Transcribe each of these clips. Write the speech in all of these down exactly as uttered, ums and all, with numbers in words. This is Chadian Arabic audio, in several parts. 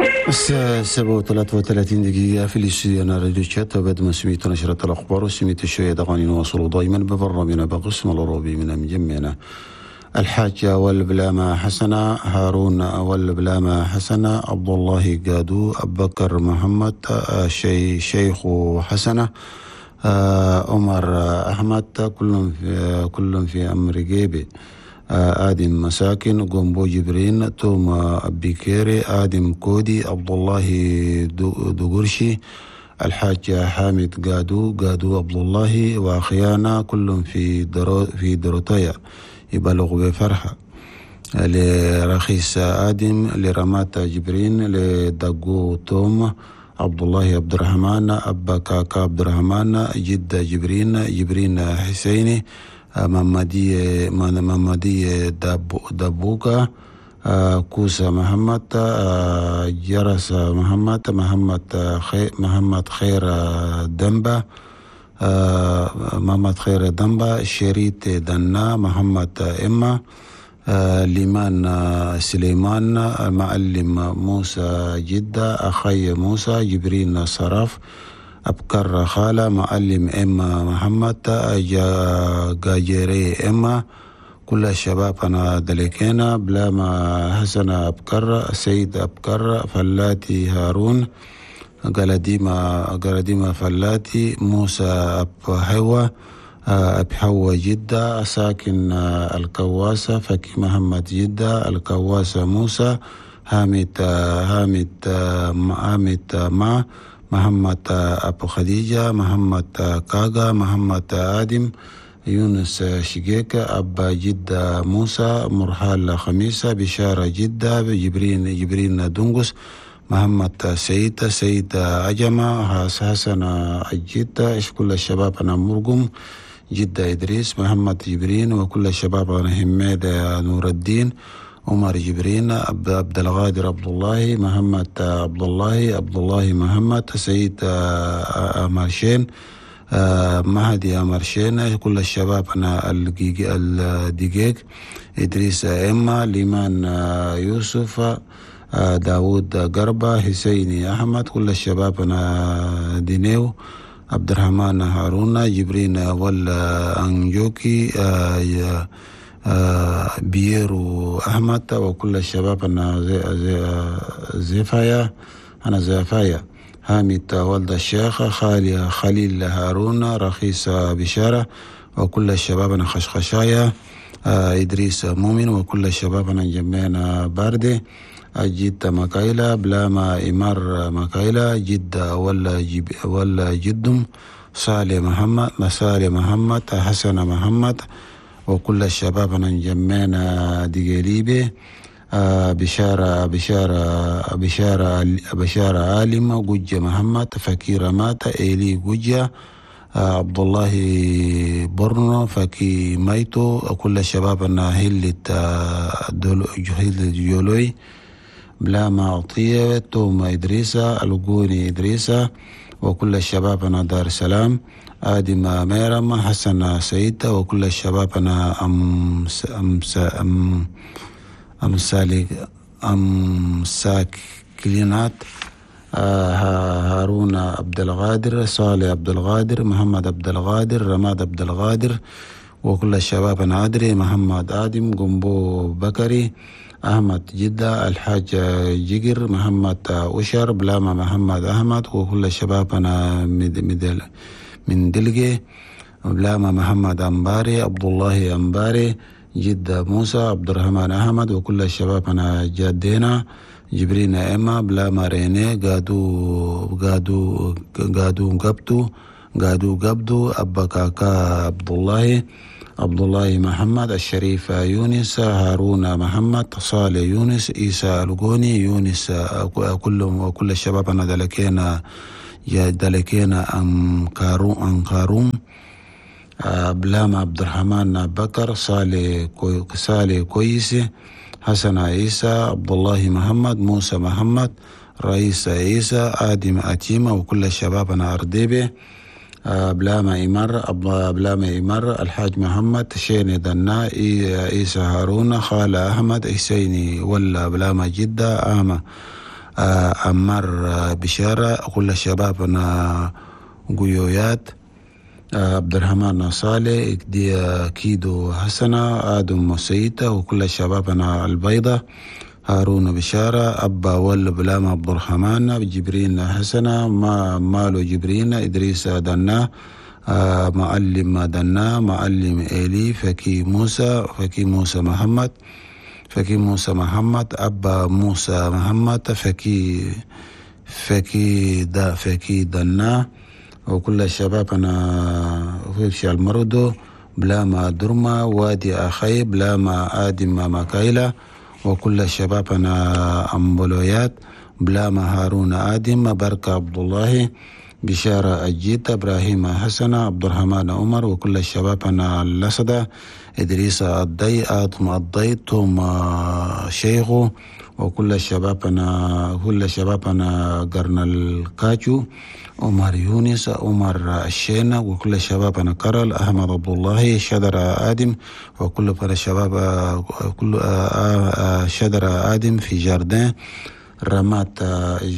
الساعة سبعة وثلاثة وثلاثين دقيقة في الاستوديو راديو تشات. وبعد ما سميت نشرة الأخبار وسميت شوية أغاني، نواصل دائما ببرنامجنا بقسم الأوروبي من مجمعنا. الحاجة والبلامة حسنة هارون والبلامة حسنة عبد الله قادو أبو بكر محمد شي شيخ حسنة عمر أحمد كلهم في كلهم في أمر جيبي. آدم مساكن قومبو جبرين توما بيكيري آدم كودي عبد الله دوغرشي الحاج حامد قادو قادو عبد الله وأخيانا كلهم في درو في دروتايا يبلغ بفرحة. لرخيص آدم لرمات جبرين لدقو توم عبد الله عبد الرحمن أبا كاكا عبد الرحمن جدة جبرين جبرين حسيني ممدي ممدي دبوكا كوسا محمد جرس محمد محمد خير محمد خير دنبا محمد خير دنبا شريط دنا محمد إما ليمان سليمان معلم موسى جدة أخي موسى جبرين صرف أبكر خالة معلم إما محمد جاجري إما كل الشباب أنا دلكينا بلاما حسن أبكر سيد أبكر فلاتي هارون قلديما قلديما فلاتي موسى أب حوا أب حوا جدة ساكن الكواسة فكي محمد جدة الكواسة موسى حامد حامد حامد ما محمد أبو خديجة محمد كاغا محمد آدم يونس شقيك أبا جدة موسى مرحال خميسة بشارة جدة جبرين جبرين دونغوس محمد سيد سيد عجمة حسن الجدة كل الشباب أنا مرقم جدة إدريس محمد جبرين وكل الشباب أنا حميد نور الدين عمر جبرين عبد القادر عبد الله محمد عبد الله عبد الله محمد سيد أمرشين مهدي أمرشين كل الشباب أنا الدقيق إدريس إما ليمان يوسف داود قربة حسيني أحمد كل الشباب أنا دينيو عبد الرحمن هارون جبرين والأنجوكي بيرو أحمد وكل الشباب أنا زفايا أنا زفايا حامد ولد الشيخ خالي خليل هارون رخيص بشارة وكل الشباب أنا خشخشايا إدريس مؤمن وكل الشباب أنا جمعنا باردي جدة مكايلة بلاما إمار مكايلة جدة ولا جب ولا جدم صالح محمد مسالي محمد حسن محمد وكل الشباب أنا جمعنا دقيليبي بشارة بشارة بشارة بشارة عالم جوجة محمد فكيرة مات إيلي جوجة عبد الله برنو فكي ميتو كل الشباب أنا هلة هلة جولوي بلاما عطية توما إدريسة الجوني إدريسة وكل الشباب أنا دار السلام آدم ميرم حسن سيد وكل الشباب أنا أم أم أم أمسالي أمساكلينات هارون عبد القادر صالح عبد القادر محمد عبد القادر رماد عبد القادر وكل الشباب أنا أدري محمد آدم قنبو بكري أحمد جدة الحاج جقر محمد أشر بلاما محمد أحمد وكل الشباب أنا من دلقي بلاما محمد أمباري عبد الله أمباري جدة موسى عبد الرحمن أحمد وكل الشباب أنا جادينا جبرين إما بلاما ريني قادو قادو قادو قبتو قادو قبدو أبا كاكا عبد الله عبد الله محمد الشريف يونس هارون محمد صالح يونس إيسى الجوني يونس كلهم وكل الشباب أنا دلكينا دلكينا أم كارو أم كاروم بلام عبد الرحمن بكر صالح صالح كويس حسن عيسى عبد الله محمد موسى محمد رئيس عيسى آدم أتيمة وكل الشباب أنا أرديبي بلاما إمر بلاما إمر الحاج محمد شيني دنا عيسى هارون خالة أحمد حسيني ولا بلاما جدة أما عمار بشارة، كل الشباب أنا قيويات، عبد الرحمن صالح، كيدو حسنة، آدم سيدة، وكل الشباب أنا البيضة، هارون بشارة، أبا ول بلام عبد الرحمن، جبرين حسنة، ما مالو جبرين، إدريس دنا، معلم دنا، معلم إيلي، فكي موسى، فكي موسى محمد، فكي موسى محمد، أبا موسى محمد، فكي فكي دا فكي دنا، وكل الشباب أنا في المردو، بلاما درما، وادي أخي، بلاما آدم مكايلة، وكل الشباب أنا أمبلويات، بلاما هارون آدم، بركة عبد الله، بشارة أجيت، إبراهيم حسن، عبد الرحمن عمر، وكل الشباب أنا اللسدة، إدريس الضي، آدم الضي، توم شيخو، وكل الشباب أنا كل الشباب أنا قرن الكاجو، عمر يونس، عمر الشينة، وكل الشباب أنا كرل، أحمد عبد الله، شدر آدم، وكل الشباب كل شدر آدم في جاردين، رمات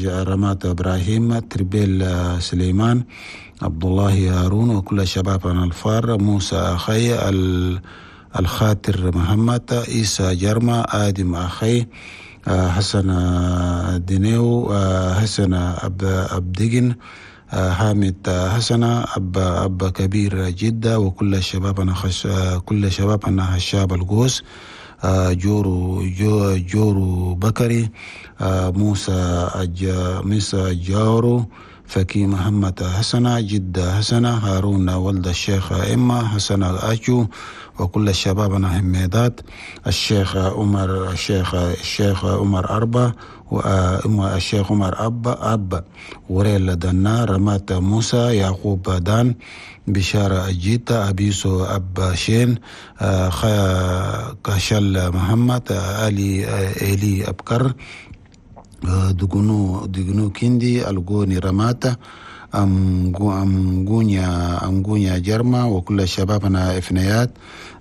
رمات إبراهيم، تربيل سليمان، عبد الله هارون، وكل الشباب أنا الفار، موسى أخي، الخاطر محمد، عيسى جرما، آدم أخي، حسن دينيو، حسن أب أبدجن، حامد حسن، أب أب كبير جدة، وكل الشباب أنا خش كل شباب أنا هشاب القوس، جورو جو جورو بكري، موسى أج موسى جارو، فكي محمد حسن، جدة حسن، هارون ولد الشيخ إما، حسن الأجو، وكل الشباب أنا حميدات، الشيخ عمر الشيخ الشيخ عمر أربع، والشيخ عمر أب أب، وريل دنا، رمات موسى، يعقوب دان، بشارة أجيتا، أبيسو أب شين، كشل محمد، علي إلي أبكر، دقنو دقنو كندي، الغوني رماتا، أمغونيا أمغونيا جرما، وكل الشبابنا إفنيات،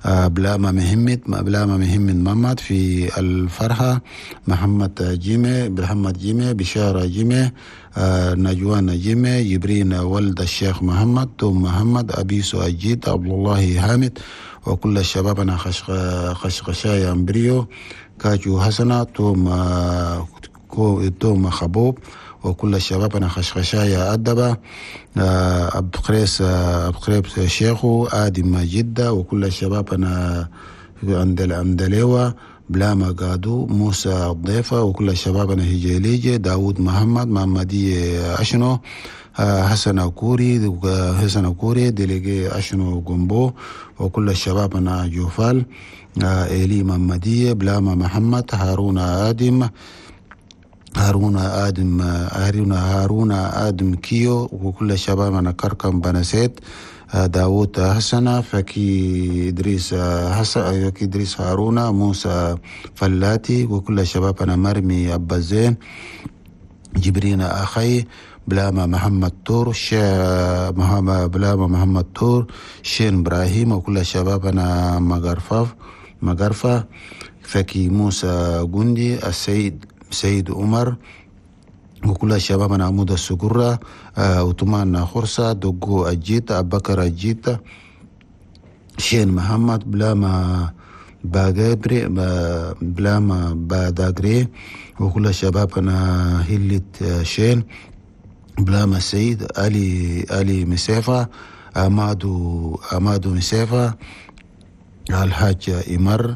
بلاما مهمت بلاما مهمت محمد في الفرحة، محمد جيمي، محمد جيمي، بشارة جيمي، نجوان جيمي، جبرين ولد الشيخ محمد، توم محمد، أبيسو أجيت، عبد الله حامد، وكل الشبابنا خش خشخشايا أمبريو، كاجو حسنة، توم توم خبوب، وكل الشباب أنا خشخشايا أدبة، أب قريس أب قريب شيخو، آدم جدة، وكل الشباب أنا عند الأمدليوة، بلاما قادو، موسى الضيفة، وكل الشباب أنا هجيليجي، داود محمد، محمدي أشنو، حسن كوري، حسن كوري، ديليجي أشنو جنبو، وكل الشباب أنا جوفال، إيلي محمدية، بلاما محمد، هارون آدم، هارون آدم هارون هارون آدم كيو، وكل الشباب أنا كركم بنسيت، داوود حسن، فكي إدريس حسن، فكي إدريس هارون، موسى فلاتي، وكل الشباب أنا مرمي أبا زين، جبرين أخي، بلاما محمد تور، محمد بلاما محمد تور، شين إبراهيم، وكل الشباب أنا مغرفة مغرفة، فكي موسى جندي، السيد سيد عمر، وكل الشباب أنا عمود السجرة، وطمان خرسة، دقو أجيت، أبكر أجيت، شين محمد، بلاما باجبري، بلاما باداجري، وكل الشباب أنا هلت شين، بلاما سيد، علي علي مسافة، أمادو أمادو مسافة، الحاج إمر،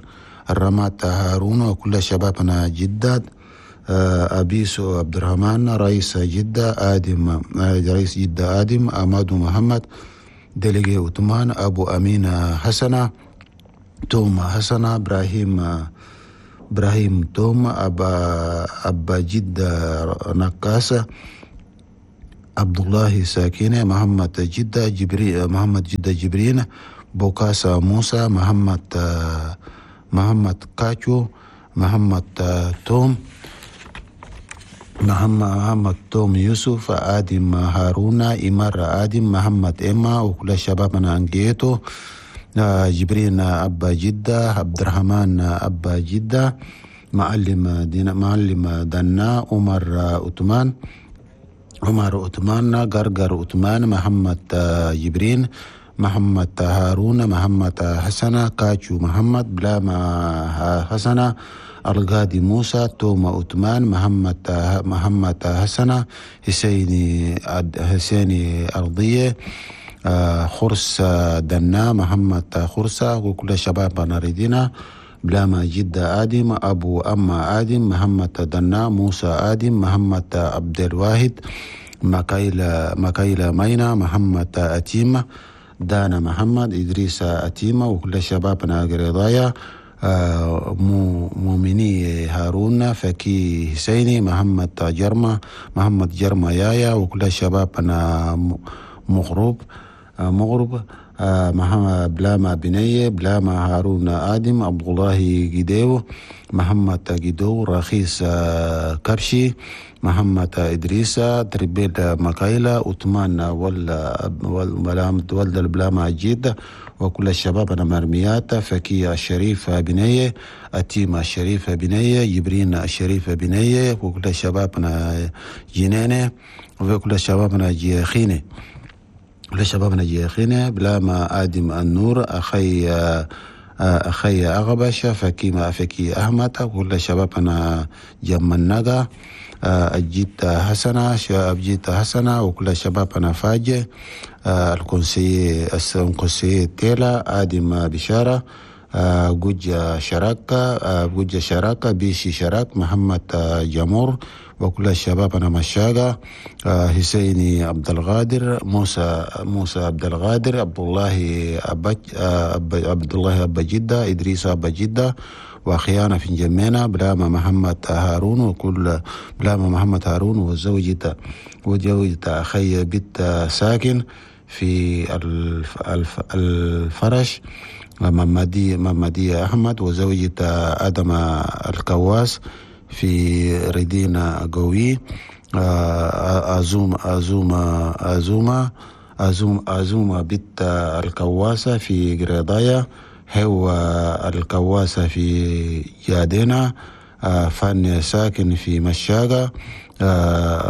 الرمات هارون، وكل الشباب أنا جداد، أبيسو عبد الرحمن، رئيس جدة آدم، رئيس جدة آدم، أمادو محمد، دليجي عثمان، أبو أمين حسنة، توما حسنة، إبراهيم إبراهيم توما، أبا أبا جدة نكاسة، عبد الله ساكينة، محمد جدة جبري، محمد جدة جبرين، بوكاسا موسى، محمد محمد كاتشو، محمد توم، محمد محمد توم يوسف، آدم هارون، إمار آدم، محمد إما، وكل الشباب أنا أنجيتو، جبرين أبا جدة، عبد الرحمن أبا جدة، معلم دينا معلم دنا عمر عثمان عمر عثمان غرغر عثمان محمد جبرين محمد هارون محمد حسنة كاتشو محمد بلاما حسنة القاضي موسى توما عثمان محمد محمد حسنة حسيني حسيني أرضية خرس دنا محمد خرسة وكل شباب نريدنا بلاما جدة آدم أبو أما آدم محمد دنا موسى آدم محمد عبد الواحد مكايلة مكايلة مينا محمد أتيمة دانا محمد إدريس أتيمة وكل شبابنا قريضايا مؤمني هارون فكي حسيني محمد جرمة محمد جرمة يايا وكل شبابنا مغرب مغرب محمد بلاما بنية بلاما هارون آدم عبد الله جديو محمد جدو رخيص كبشي محمد إدريس تربيل مكايلة عثمان ولا ولد البلاما جيد وكل الشباب أنا مرميات فكي الشريف بنية أتيمة الشريف بنية جبرين الشريف بنية وكل شبابنا جنانة وكل شبابنا جيخينة كل شبابنا جيخينة بلاما آدم النور أخي أخي أغبش فكيما فكي أحمد كل شبابنا جمناغا أجيت حسنة أجيت حسنة وكل شبابنا فاجة الكونسي الكونسي تيلا آدم بشارة جوجا شراكة جوجا شراكة بيشي شراك محمد جمور وكل شبابنا مشاقة حسيني عبد القادر موسى موسى عبد القادر عبد الله أبا عبد الله أبا جدة إدريس أبا جدة وأخيانا في جمينا بلاما محمد هارون وكل بلاما محمد هارون وزوجته وزوجته أخي بنت ساكن في الف الف الفرش ممدي ممدي أحمد وزوجته آدم الكواس في ردينا قوي أزوم أزوم أزومة أزوم أزومة بنت الكواسة في قريضايا هو الكواسة في جادينا فن ساكن في مشاقة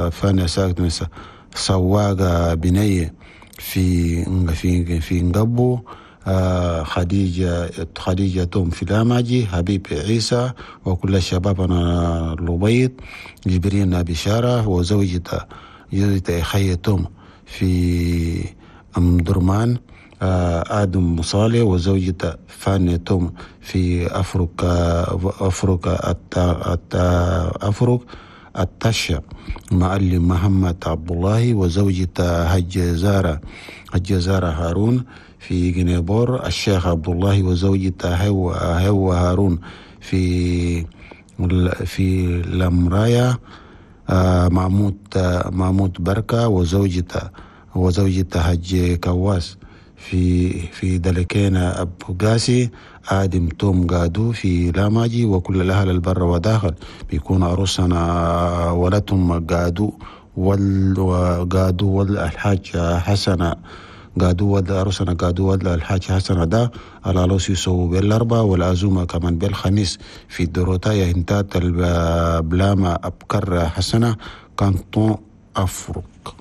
فن ساكن سواقة بنية في في في نقبو خديجة خديجة توم في لاماجي حبيب عيسى وكل الشباب أنا لبيض جبرين بشارة وزوجته زوجته أخي توم في أم درمان آدم مصالح وزوجته فاني توم في أفريقيا أفريقيا أفريقيا التشا معلم محمد عبد الله وزوجته هج زارة هج زارة هارون في جنيبور الشيخ عبد الله وزوجته هو هو هارون في في لمرايا محمود محمود بركة وزوجته وزوجته هج كواس في في دلكينا أبو قاسي آدم توم قادو في لاماجي وكل الأهل البر وداخل بيكون عروسنا ولدهم قادو وال قادو والحاج حسن قادو ود عروسنا قادو ود الحاج حسن ده على لوس يسووا بالأربعة والعزومة كمان بالخميس في الدروتايا هنتات البلاما أبكر حسنة كانتون أفرق.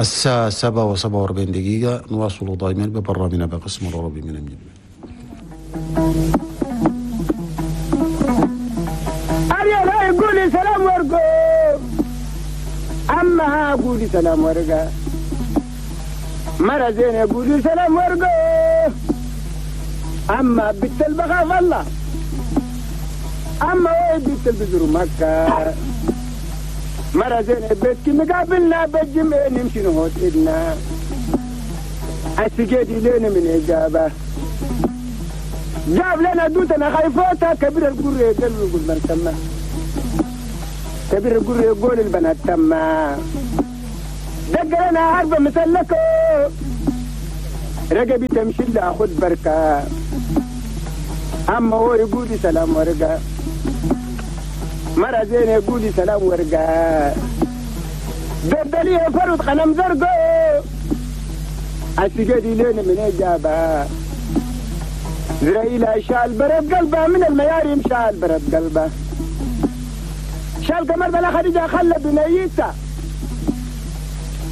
الساعة سبعة وسبعة وأربعين دقيقة نواصل دائما ببرنامجنا بقسم العربي من المجد. أريا قولي سلام ورقو أما قولي سلام ورقا مرة زين قولي سلام ورقو أما بنت البخاف الله أما وين بنت البزر مكة مرة زين بيتك مقابلنا بالجمع نمشي نهوت إلنا السجاد لنا من إجابة جاب لنا دوتنا خايفوتا كبير القرية قال يقول من تما كبير القرية يقول البنات تما دق لنا عربة مسلكة رقبي تمشي لها خد بركة أما هو يقول سلام ورقة مرة زين يقول سلام ورقة دردليه فرد قلم زرقو السجاد لنا من إجابة زرائيل شال برد قلبه من المياري مشال برد قلبه شال قمر بلا خديجة خلى بنيته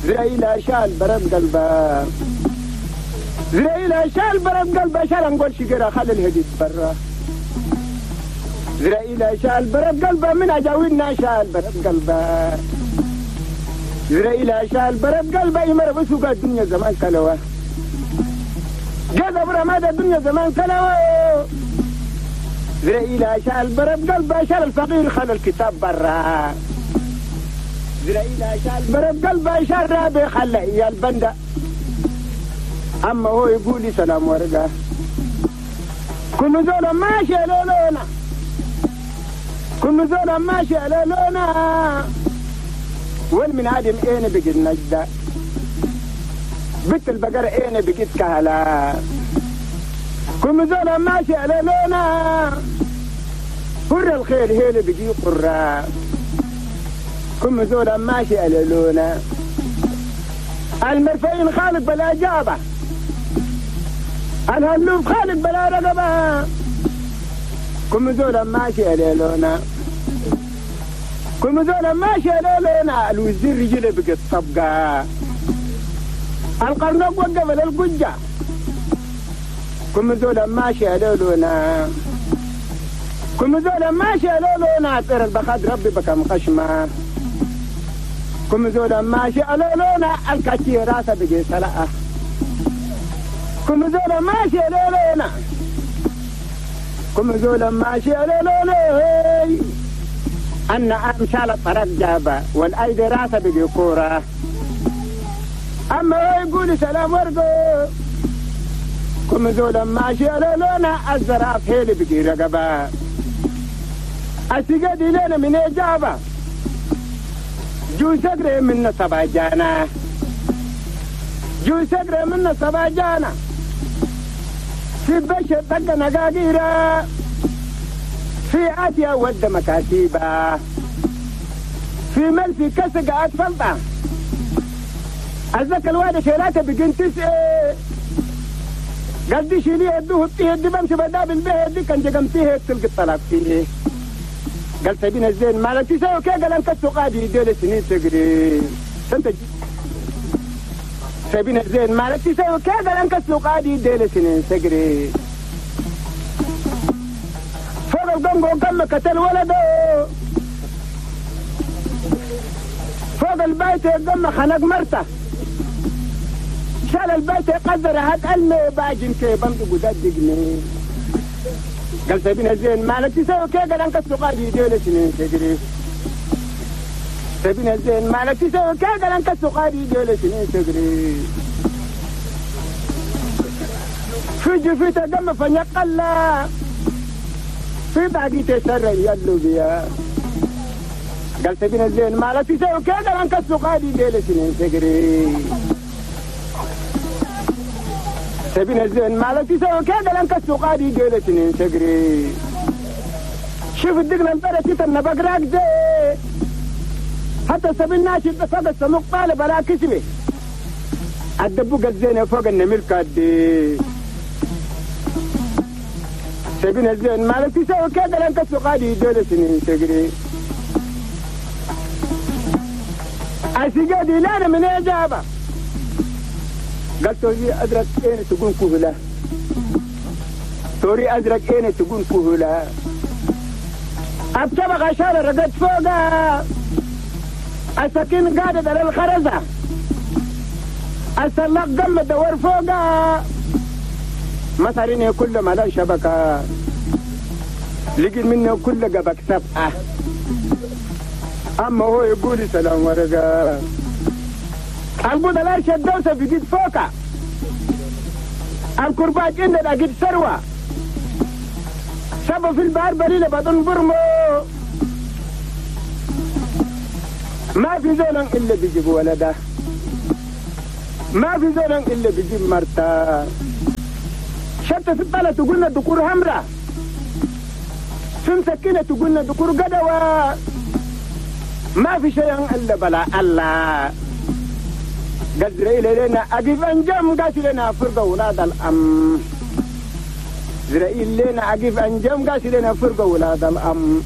زريلا شال برد قلبه زريلا شال برد قلبه شال نقول شجرة خلى الهديد برا زريلا شال برد قلبه من أجاوينا شال برد قلبه زريلا شال برد قلبه يمر بسوق الدنيا زمان كلوه جذب رماد الدنيا زمان كلوه زريلا شال برد قلبه شال الفقير خلى الكتاب برا زريلا شال برد قلبه شال رابي خلى يا البندة أما هو يقول لي سلام ورقة كل زول ماشي لولونا كل زول ماشي لولونا وين من عدم اين بقيت نجدة بنت البقرة اين بقيت كهلا كل زول ماشي لولونا قر الخير هيل بقي قرة كل زول ماشي لولونا المرفعين خالق بلا جابة الهلوف خالق بلا رقبة كم زول ماشي لولونا كم زول ماشي لولونا الوزير رجله بقت طبقة القرنق وقف للقجة كم زول ماشي لولونا كم زول ماشي لولونا طير البخاد ربي بكم خشمة كم زول ماشي لولونا الكاتي راسه بقي سلقة كم زول ماشي لولونا كم زول ماشي لولونا أن أمشال الطرق جابة والأيدي راسه بقي كورة أما هو يقول سلام ورقو كم زول ماشي لولونا الزراف هيلي بقي رقبة السجاد لنا من إجابة جو سقري من سبع جانا جو سقري من سبع جانا في بشر طق نقاقيرة في آتيا ود مكاتيبة في ملفي كسقة أطفلطة الزكا الوادي شيلاته بقين تسعة قال دي شيليه يدوه بتيه دي بمشي بدابل به دي كان جقمتيه تلقي الطلاق فيه قال سبينا الزين مالك تسوي كي قال انت السقادي ديل سنين تقري انت سبينا الزين مالك تسوي كي قال انت السقادي ديل سنين تقري فوق القنقو كم قتل ولده فوق البيت قم خنق مرته شال البيت قدر هات المي باجن كي بمدق ودقني قال سبينا الزين مالك تسوي كي قال انك السقادي ديل سنين تجري سبينا الزين مالك تسوي كي قال انك السقادي ديل سنين تجري في جفيته دم فنقلا في باقي تسرى يلو بيا قال سبينا الزين مالك تسوي كي قال انك السقادي ديل سنين تجري سبينا الزين مالك تسوي كي قال انك السقادي ديل سنين تجري شوف الدقلة انطرت النبق راكدة حتى سبيل ناشد فوق السموق طالب بلا كسبه الدبوق الزينة فوق النمل كادي سبينا الزين مالك تسوي كي قال انك السقادي ديل سنين تجري السقادي لا من إجابة قال توري أزرق إين تقول كهلا توري أزرق إين تقول كهلا أبتبغ عشان رقد فوقها السكين قاعدة على الخرزة السلاق قم دور فوقها مسارين كل ما لا شبكة لقي منه كل قبك سبعة أما هو يقول سلام ورقة البودلار شدوسة بقيت فوقها الكرباج إن لقيت ثروة سبب في البحر بليلة بدون برمو ما في زول إلا بيجيب ولده ما في زول إلا بيجيب مرته شتى في البلد تقولنا دكور همرة في مسكينة تقولنا دكور قدوة ما في شيء إلا بلا الله قال لنا أقف أنجم قالت لنا فرقة ولاد الأم زرائيل لنا أقف أنجم قالت لنا فرقة ولاد الأم.